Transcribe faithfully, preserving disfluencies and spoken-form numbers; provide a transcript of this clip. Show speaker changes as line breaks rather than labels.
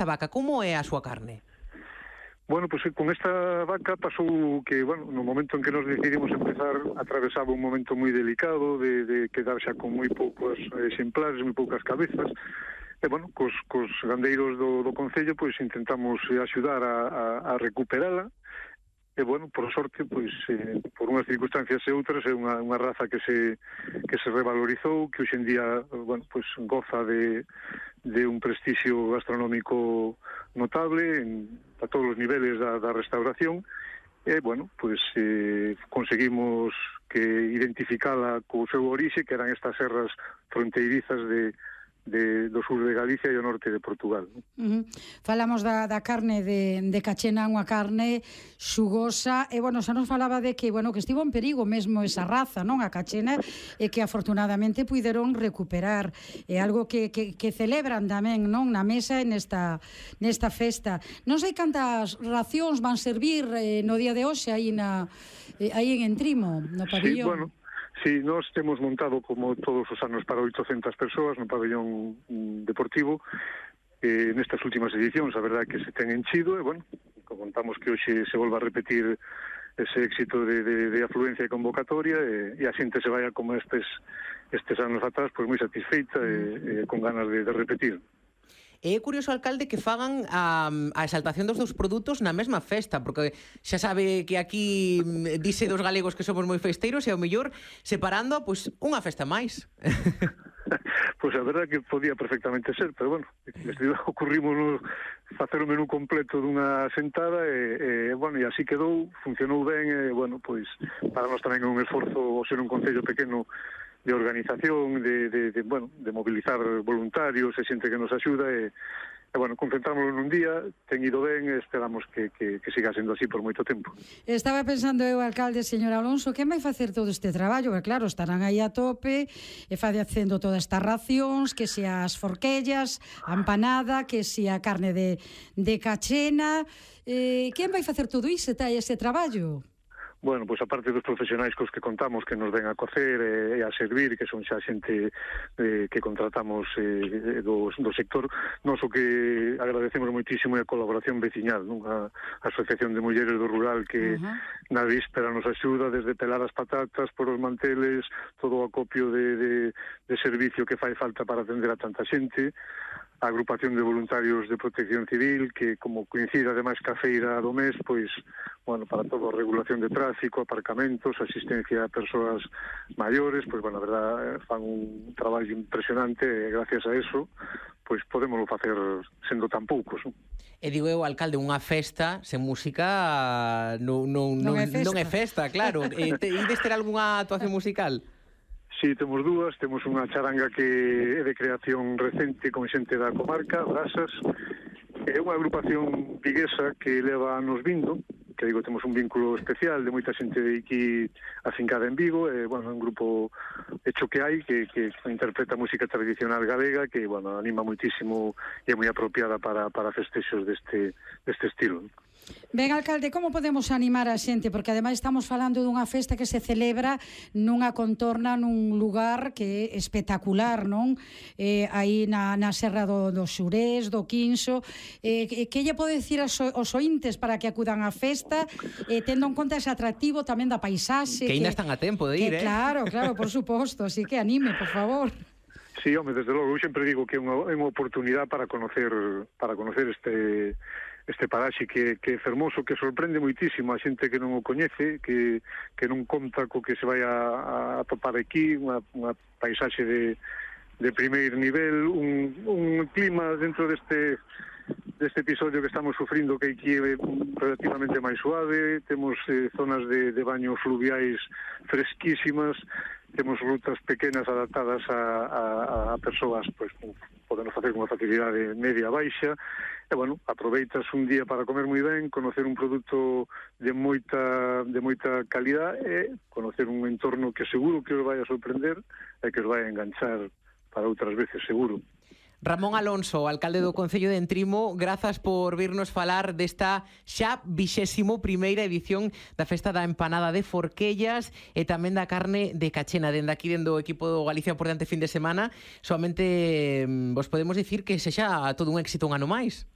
esta vaca, como é a súa carne?
Bueno, pues con esta vaca pasou que, bueno, no momento en que nos decidimos empezar, atravesaba un momento moi delicado de, de quedar xa con moi poucos exemplares, moi poucas cabezas. E, bueno, cos, cos gandeiros do, do Concello, pois intentamos axudar a, a, a recuperala. E, bueno, por sorte, pois, eh, por unhas circunstancias e outras, é unha, unha raza que se, que se revalorizou, que hoxe en día, bueno, pois, goza de, de un prestixio gastronómico notable en, a todos os niveles da, da restauración. E, bueno, pois, eh, conseguimos que identificala co seu orixe, que eran estas serras fronteirizas de De, do sur de Galicia e o norte de Portugal.
Uh -huh. Falamos da, da carne de, de Cachena, unha carne xugosa, e, bueno, xa nos falaba de que, bueno, que estivo en perigo mesmo esa raza, non, a Cachena, e que afortunadamente puideron recuperar. É algo que, que, que celebran tamén, non, na mesa nesta, nesta festa. Non sei cantas racións van servir eh, no día de hoxe aí, na, eh, aí en Entrimo, no pabillón.
Sí, bueno, sí, nós temos montado como todos os anos para oitocentas persoas no pabellón deportivo. Eh, nestas últimas edicións, a verdade que se ten enchido, e, bueno, contamos que hoxe se volva a repetir ese éxito de, de, de afluencia e convocatoria, e, e a xente se vaya como estes, estes anos atrás, pois moi satisfeita e, e con ganas de, de repetir.
É curioso, alcalde, que fagan a, a exaltación dos dous produtos na mesma festa, porque xa sabe que aquí dice dos galegos que somos moi festeiros e ao mellor separando, pois, unha festa máis.
Pois a verdade que podía perfectamente ser, pero bueno, ocurrimos facer o menú completo dunha sentada e, e bueno, e así quedou, funcionou ben e, bueno, pois para nós tamén é un esforzo o ser un concello pequeno de organización, de, de, de, bueno, de mobilizar voluntarios e xente que nos axuda e, e bueno, concentrámoslo nun día, ten ido ben e esperamos que, que, que siga sendo así por moito tempo.
Estaba pensando eu, alcalde, señor Alonso, quen vai facer todo este traballo? Porque claro, estarán aí a tope e facendo todas estas racións, que se as forquellas, a empanada, que se a carne de, de Cachena, eh, quen vai facer todo iso, ese traballo?
Bueno, pois aparte dos profesionais cos que contamos que nos ven a cocer e, e a servir, que son xa xente eh, que contratamos eh, do, do sector, nos o que agradecemos moitísimo é a colaboración veciñal, non? A, a Asociación de Mulleres do Rural que uh -huh. na víspera nos axuda desde pelar as patatas por os manteles, todo o acopio de, de, de servicio que fai falta para atender a tanta xente, a agrupación de voluntarios de protección civil, que como coincide ademais ca feira do mes, pois, bueno, para todo a regulación de tráfico, aparcamentos, asistencia a persoas maiores, pois, bueno, a verdad, fan un traballo impresionante e gracias a eso, pois podémoslo facer sendo tan poucos, non?
E digo eu, alcalde, unha festa sen música non, non, non, non, é, festa. non é festa, claro. E ides ter algunha actuación musical?
Sí, temos dúas, temos unha charanga que é de creación recente con xente da comarca, Brasas, é unha agrupación viguesa que leva anos vindo, que digo, temos un vínculo especial de moita xente de aquí afincada en Vigo, e, bueno, un grupo hecho que hai, que, que interpreta música tradicional galega, que, bueno, anima moitísimo e é moi apropiada para, para festexos deste, deste estilo.
Ben, alcalde, como podemos animar a xente? Porque ademais estamos falando dunha festa que se celebra nunha contorna, nun lugar que é espectacular, non? Eh, aí na, na Serra do, do Xurés, do Quinso. Eh, que lle pode dicir aos, aos ointes para que acudan á festa, eh, tendo en conta ese atractivo tamén da paisaxe?
Que ainda están a tempo de ir,
que,
eh?
Claro, claro, por suposto, así que anime, por favor.
Sí, home, desde logo, eu sempre digo que é unha, é unha oportunidade para conocer para conocer este este paraxe que, que é fermoso, que sorprende moitísimo a xente que non o coñece, que, que non conta co que se vai a, a topar aquí, unha, unha paisaxe de, de primeiro nivel, un, un clima dentro deste deste episodio que estamos sufrindo, que aquí é relativamente máis suave, temos eh, zonas de, de baños fluviais fresquísimas, temos rutas pequenas adaptadas a, a, a persoas, pois, podemos facer con unha facilidade media baixa, e, bueno, aproveitas un día para comer moi ben, conocer un produto de moita de moita calidad e conocer un entorno que seguro que os vai a sorprender e que os vai a enganchar para outras veces, seguro.
Ramón Alonso, alcalde do Concello de Entrimo, grazas por virnos falar desta xa vixésimo primeira edición da Festa da Empanada de Forquellas e tamén da carne de Cachena. Dende aquí, dende o equipo do Galicia por diante fin de semana, solamente vos podemos dicir que sexa todo un éxito un ano máis.